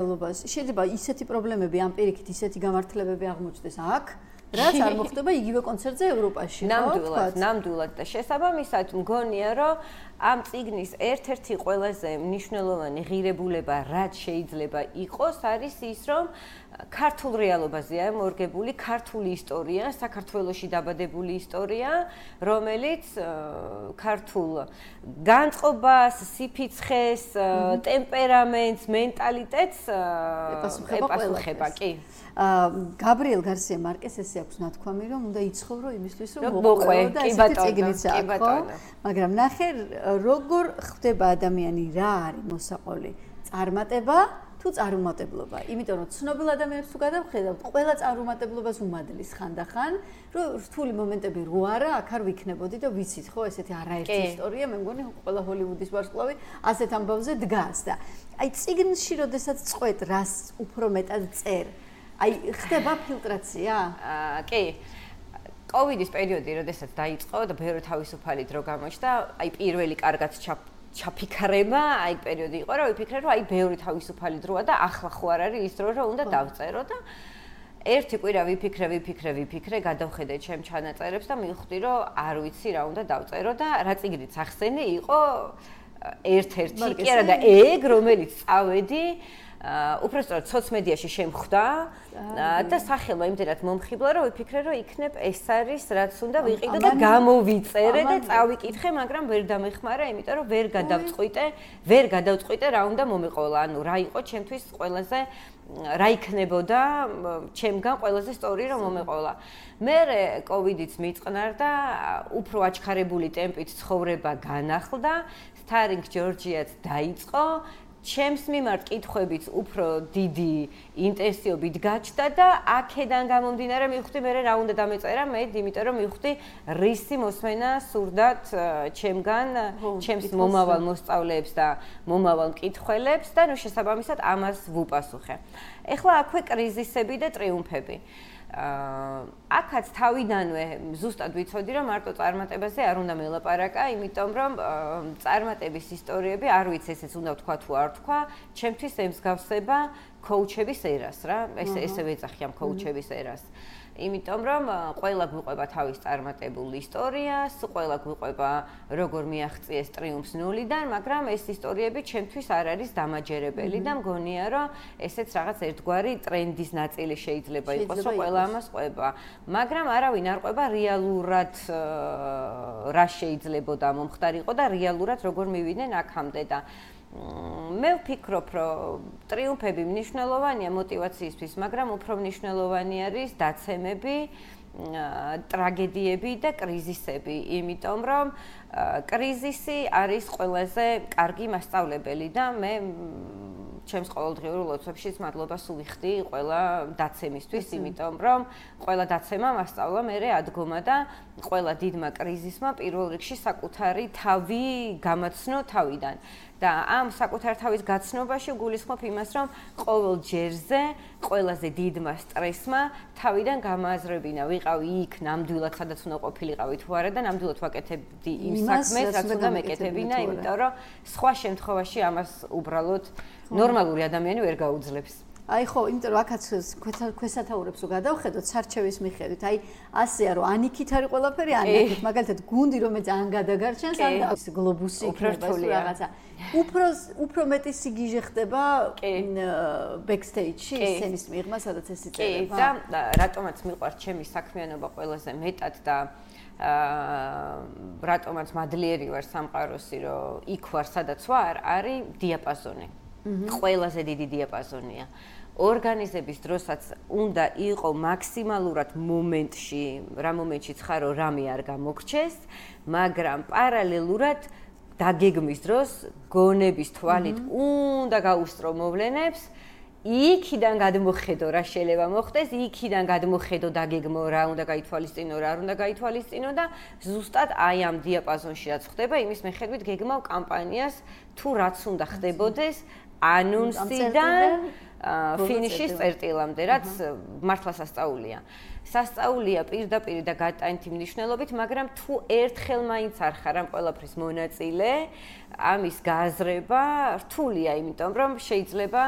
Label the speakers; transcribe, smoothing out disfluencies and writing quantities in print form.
Speaker 1: შეიძლება ისეთი პრობლემები ამ პირიქით ისეთი გამართლებები აღმოჩნდეს აქ, რაც არ მოხდება იგივე კონცერტზე ევროპაში.
Speaker 2: ნამდვილად და შესაბამისად მგონია, რომ ამ წიგნის ერთ-ერთი ყველაზე მნიშვნელოვანი ღირებულება, რაც შეიძლება იყოს, არის ის, რომ ქართულ რეალობაზეა მორგებული ქართული ისტორია, საქართველოში დაბადებული ისტორია, რომელიც ქართულ განწყობას, სიფიცხეს, ტემპერამენტს, მენტალიტეტს ეპასუხება, კი.
Speaker 1: გაბრიელ გარსია მარკეს ესე აქვს ნათქვამი, რომ უნდა იცხოვრო იმისთვის, რომ მოყვე და ესეთი წიგნიც აქვს, ხო? მაგრამ ნახე, როგორ ხდება ადამიანი, რა არის მოსაყოლი? წარმატება თუ წარუმატებლობა? იმიტომ რომ ცნობილ ადამიანებს თუ გადავხედავთ, ყველა წარუმატებლობას უმადლის ხანდახან, რომ რთული მომენტები რო არა, აქ არ ვიქნებოდი და ვიცით, ხო, ესეთი არაერთი ისტორია, მე მგონი ყველა ჰოლივუდის ვარსკვლავი ასეთ ამბავზე დგას და აი წიგნში როდესაც წყვეთ, რას უფრო მეტად წერ აი ხდება ფილტრაცია?
Speaker 2: კი. კოვიდის პერიოდი, როდესაც დაიწყო და ბევრი თავისუფალი დრო გამოჩნდა, აი პირველი კარგად ჩაფიქრება, აი პერიოდი იყო, რომ ვიფიქრე, რომ აი ბევრი თავისუფალი დროა და ახლა ხო არ არის ის დრო, რომ უნდა დავწერო და ერთი კვირა ვიფიქრე, გადავხედე ჩემ ჩანაწერებს და მივხვდი, რომ არ ვიცი რა უნდა დავწერო და რა წიგნიც ახსენე იყო ერთ-ერთი კი არა და ეგ რომელიც წავედი უბრალოდ სოციმედიაში შემხვდა და სახელმა იმდენად მომხიბლა, რომ ვიფიქრე, რომ იქნებ ეს არის რაც უნდა ვიყიდო და გამოვიწერე და წავიკითხე, მაგრამ ვერ დამეხმარა, იმიტომ რომ ვერ გადავწყვიტე რა უნდა მომეყოლა, ანუ რა იყო ჩემთვის ყველაზე რა იქნებოდა ჩემგან ყველაზე სწორი რომ მომეყოლა. მერე კოვიდიც მიწყნარდა, უფრო აჩქარებული ტემპით ცხოვრება განახლდა, სტარინგ ჯორჯიაც დაიწყო. ჩემს მიმართ კითხვებიც უფრო დიდი ინტენსივობით გაჩნდა და აქედან გამომდინარე მივხვდი მე რა უნდა დამეწერა მე, იმიტომ რომ მივხვდი რისი მოსმენა სურდათ ჩემგან, ჩემს მომავალ მოსწავლეებს და მომავალ მკითხველებს და ნუ შესაბამისად ამას ვუპასუხე. ეხლა აქვე კრიზისები და ტრიუმფები. აქაც თავიდანვე ზუსტად ვიცოდი, რომ მარტო წარმატებაზე არ უნდა მელაპარაკა, იმიტომ რომ წარმატების ისტორიები არ ვიცი ესეც უნდა ვთქვა თუ არ ვთქვა, ჩემთვის ემსგავსება კოუჩების ერას რა, ესე ვეძახი ამ კოუჩების ერას. იმიტომ რომ ყველა გვიყვება თავის წარმატებულ ისტორიას, ყველა გვიყვება როგორ მიაღწიეს ტრიუმფს ნულიდან, მაგრამ ეს ისტორიები ჩემთვის არ არის დამაჯერებელი და მგონია რომ ესეც რაღაც ერთგვარი ტრენდის ნაწილი შეიძლება იყოს, რომ ყველა ამას ყვება. მაგრამ არავინ არ ყვება რეალურად რა შეიძლებოდა მომხდარიყო და რეალურად როგორ მივიდნენ აქამდე და მე ვფიქრობ, რომ ტრიუმფები მნიშვნელოვანია мотивაციისთვის, მაგრამ უფრო მნიშვნელოვანი არის დაცემები, ტრაგედიები და კრიზისები, იმიტომ რომ კრიზისი არის ყველაზე კარგი მასწავლებელი და მე ჩემს ყოველდღიურ ლოცვებშიც მადლობას ვუხდი ყველა დაცემისთვის, იმიტომ რომ ყველა დაცემა მასწავლა მერე ადგომა და ყველა დიდმა კრიზისმა პირველ რიგში საკუთარი თავი გამაცნო თავიდან. და ამ საკუთარ თავის გაცნობაში გულისხმობ იმას, რომ ყოველ ჯერზე ყველაზე დიდმა სტრესმა თავიდან გამოაზრებინა. ვიყავი იქ ნამდვილად, სადაც უნდა ყოფილიყავი თუ არა და ნამდვილად ვაკეთებდი იმ საქმეს, რაც უნდა მეკეთებინა, იმიტომ რომ სხვა შემთხვევაში ამას უბრალოდ ნორმალური ადამიანი ვერ გაუძლებს.
Speaker 1: აი ხო, იმიტომ რომ აქაც ქვესათაურებს რო გადავხედოთ სარჩევის მიხედვით, აი ასეა რომ ანიქით არის ყველაფერი, ანიქით, მაგალითად გუნდი რომელიც ან გადაგარჩენს, ან გლობუსი იქნება რაღაცა. უფრო მეტი სიგიჟე ხდება ბექსტეიჯში, სცენის მიღმა, სადაც ეს იწერება.
Speaker 2: კი, და რატომაც მიყვარს ჩემი საქმიანობა ყველაზე მეტად და რატომაც მადლიერი ვარ სამყაროსი, რომ იქ ვარ, სადაც ვარ, არის დიაპაზონი. ყველაზე დიდი დიაპაზონია. ორგანიზების დროსაც უნდა იყო მაქსიმალურად მომენტში, რა მომენტშიც ხარო რამე არ გამოგრჩეს, მაგრამ პარალელურად დაგეგმის დროს გონების თვალით უნდა გაუსწრო მოვლენებს, იქიდან გადმოხედო რა შეიძლება მოხდეს, იქიდან გადმოხედო დაგეგმო რა უნდა გაითვალისწინო, რა არ უნდა გაითვალისწინო და ზუსტად აი ამ დიაპაზონში რაც ხდება, იმის მიხედვით გეგმავ კამპანიას თუ რაც უნდა ხდებოდეს ანონსიდან ფინიშის წერტილამდე, რაც მართლა სასწაულია. სასწაულია პირდაპირ და გადატანითი მნიშვნელობით, მაგრამ თუ ერთხელ მაინც არ ხარ ამ ყველაფრის მონაწილე, ამის გააზრება რთულია, იმიტომ რომ შეიძლება